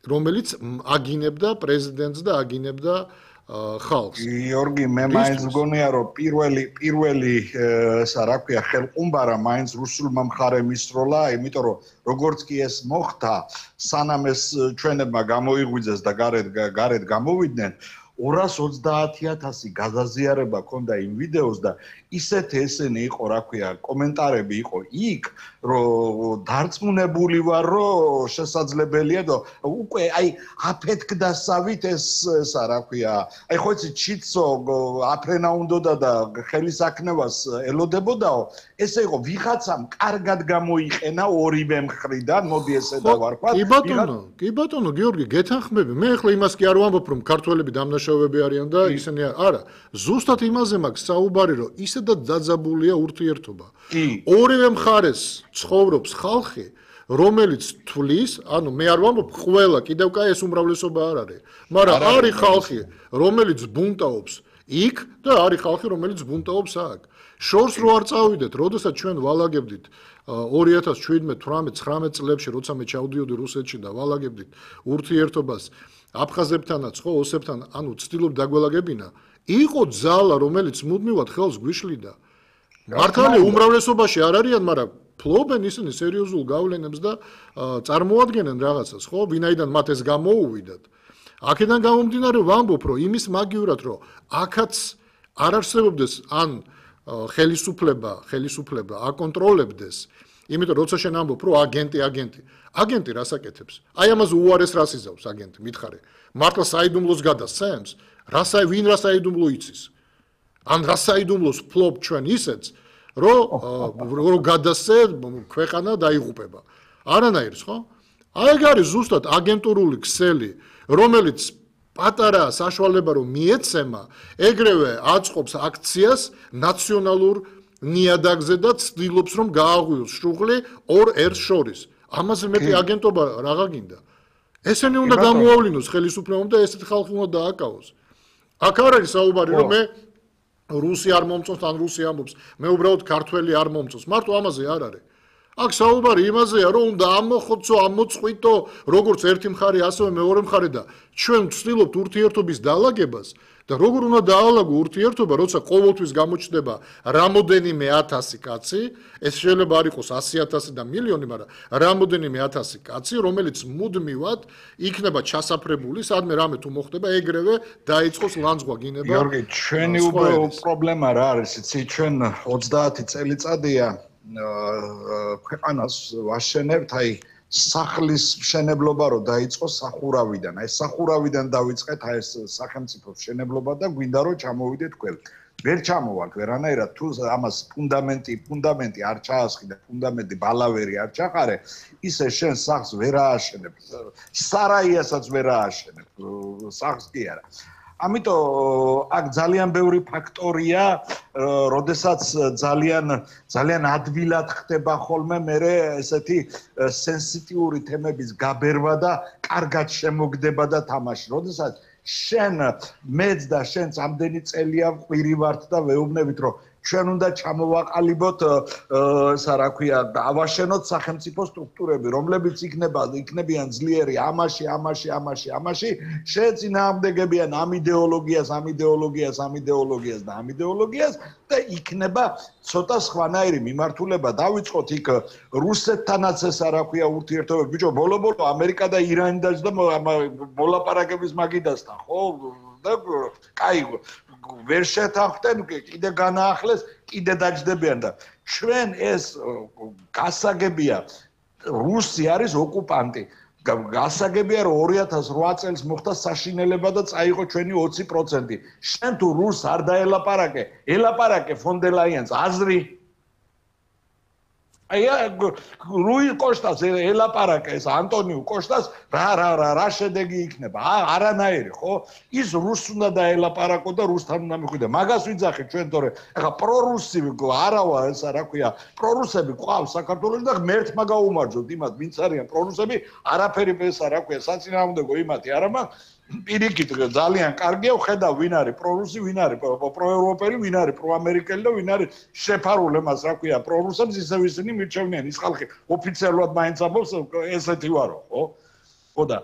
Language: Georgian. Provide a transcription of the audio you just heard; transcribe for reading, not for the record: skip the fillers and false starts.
რომელიც აგინებდა პრეზიდენტს და აგინებდა ხალხს. გიორგი, მე მაინც მგონია, რომ პირველი რა ქვია, ხელყუმბარა მაინც რუსულმა მხარემ ისროლა, იმიტომ რომ როგორც კი ეს მოხდა, სანამ ეს ჩვენებმა გამოიღვიძეს და გარეთ გამოვიდნენ, 230,000 გადაზიარება ქონდა იმ ვიდეოს და ისეთი ესენი იყო, რა ქვია, კომენტარები იყო იქ, რომ დარწმუნებული ვარ, რომ შესაძლებელია და უკვე აი აფეთქდასავით ესა რა ქვია, აი ხო იცი ჩიცო აფრენა უნდოდა და ხელისაქნევას ელოდებოდაო, ესე იყო ვიღაცამ კარგად გამოიყენა ორივე მხრიდან, მოდი ესე დავარქვათ. კი ბატონო, გიორგი, გეთანხმები. მე ახლა იმას კი არ ვამბობ, რომ ქართველები დამნაშავეები არიან და ისინი არა, ზუსტად იმაზე მაქვს საუბარი, რომ ისედაც დაძაბულია ურთიერთობა. ორივე მხარეს ცხოვრობს ხალხი, რომელიც თვლის, ანუ მე არ ვამბობ ყველა, კიდევ კაი ეს უმრავლესობა არ არის, მაგრამ არის ხალხი, რომელიც ბუნტაობს იქ და არის ხალხი, რომელიც ბუნტაობს აქ. შორს რო არ წავიდეთ, როდესაც ჩვენ ვალაგებდით 2017-18-19 წლებში, როცა მე ჩავდიოდი რუსეთში და ვალაგებდით ურთიერთობას აფხაზებთანაც, ხო, ოსებთან, ანუ ცდილობ დაგველაგებინა, იყო ძალა, რომელიც მუდმივად ხელს გვიშლიდა. მართალია უმრავლესობაში არ არიან, მაგრამ ფლობენ ისინი სერიოზულ გავლენებს და წარმოადგენენ რაღაცას, ხო, ვინაიდან მათ ეს გამოუვიდათ. აქედან გამომდინარე ვამბობ, რომ იმის მაგივრად, რომ აქაც არ არსებობდეს ან ხელისუფლება აკონტროლებდეს, იმიტომ როცა შენ ამბობ, რომ აგენტი რას აკეთებს? აი ამაზე უარეს რას იზავს აგენტი, მითხარე. მართლა საიდუმლოს გადასცემს? ვინ რას საიდუმლო იცის? ან რას საიდუმლოს ფლობ ჩვენ ისეც, რომ გადასცე ქვეყანა დაიღუპება. არანაირს, ხო? აი ეგ არის ზუსტად აგენტურული ქსელი, რომელიც პატარა საშუალება რომ მიეცემა, ეგრევე აწყობს აქციას ნაციონალურ ნიადაგზე და ცდილობს რომ გააღვიოს შუღლი ორ ერთს შორის. ამაზე მეტი აგენტობა რაღა გინდა? ესენი უნდა გამოავლინოს ხელისუფლებამ და ესეთი ხალხი უნდა დააკავოს. აქ არ არის საუბარი რომ მე რუსი არ მომწონს ან რუსი ამბობს, მე უბრალოდ ქართველი არ მომწონს. მარტო ამაზე არ არის. აქ საუბარი იმაზეა, რომ უნდა ამოხოცო, ამოწყვიტო, როგორც ერთი მხარე, ასევე მეორე მხარე და ჩვენ ვცდილობთ ურთიერთობის დაალაგებას და როგორ უნდა დაალაგო ურთიერთობა, როცა ყოველთვის გამოჩნდება რამოდენიმე 1000 კაცი, ეს შეიძლება არ იყოს 100,000 და მილიონი, მაგრამ რამოდენიმე 1000 კაცი, რომელიც მუდმივად იქნება ჩასაფრებული, სადმე რამე თუ მოხდება, ეგრევე დაიწყოს ლანძღვა გინება. გიორგი, ჩვენი პრობლემა რა არის, იცი, ჩვენ 30 წელიწადია ქვეყანას ვაშენებთ, აი სახლის მშენებლობა რო დაიწყოს სახურავიდან, აი სახურავიდან დავიწყეთ აი ეს სახელმწიფო მშენებლობა და გვინდა რომ ჩამოვიდეთ ყველ. ვერ ჩამოვართ ვერანაირად, თუ ამას ფუნდამენტი არ ჩაასხი და ფუნდამენტი ბალავერი არ ჩაყარე, ისე შენ სახლს ვერ ააშენებ. სარაიასაც ვერ ააშენებ, სახლს კი არა. ამიტომ აქ ძალიან ბევრი ფაქტორია, როდესაც ძალიან ადვილად ხდება ხოლმე მერე ესეთი სენსიტიური თემების გაბერვა და კარგად შემოგდება და თამაში. როდესაც შენ მეც და შენც ამდენი წელია ყვირი ვართ და ვეუბნებით, რომ ჩვენ უნდა ჩამოვაყალიბოთ, რა ქვია, ავაშენოთ სახელმწიფო სტრუქტურები, რომლებიც იქნებიან ძლიერი ამაში, შეეწინააღმდეგებიან ამ იდეოლოგიას და იქნება ცოტა სხვანაირი მიმართულება. დავიწყოთ იქ რუსეთთანაც ეს რა ქვია ურთიერთობები. ბიჭო, ბოლო ამერიკა და ირანი დაჯდა მოლაპარაკების მაგიდასთან, ხო? და კაი ვერ შეთანხმდნენ, კიდე განაახლეს, კიდე დაჯდებიან და ჩვენ ეს გასაგებია, რუსი არის ოკუპანტი. გასაგებია, რომ 2008 წელს მოხდა საშინელება და წაიღო ჩვენი 20%. შენ თუ რუსს არ ელაპარაკე ფონ დერ ლაიენს აზრი. აი რუი კოშტას ელაპარაკე ეს ანტონიუ კოშტას რა შედეგი იქნება? არანაირი, ხო? ის რუსს უნდა დაელაპარაკო და რუსთან უნდა მიხვიდე. მაგას ვიძახით ჩვენ, თორე ეხა პრორუსი არავა ეს რა ქვია, პრორუსები ყავს საქართველოში და ღმერთმა გაუმარჯოთ იმათ, ვინც არიან პრორუსები, არაფერი ეს რა ქვია, საწინააღმდეგო იმათი არა მაქვს. პირიქით ძალიან კარგია ხედავ ვინ არის პრორუსი, ვინ არის პროევროპელი, ვინ არის პროამერიკელი და ვინ არის შეფარული მას რა ქვია პრორუსებს ისევ ისინი მირჩევნიან ის ხალხი ოფიციალურად მაინც ამბობს ესეთი ვარო ხო? ხო და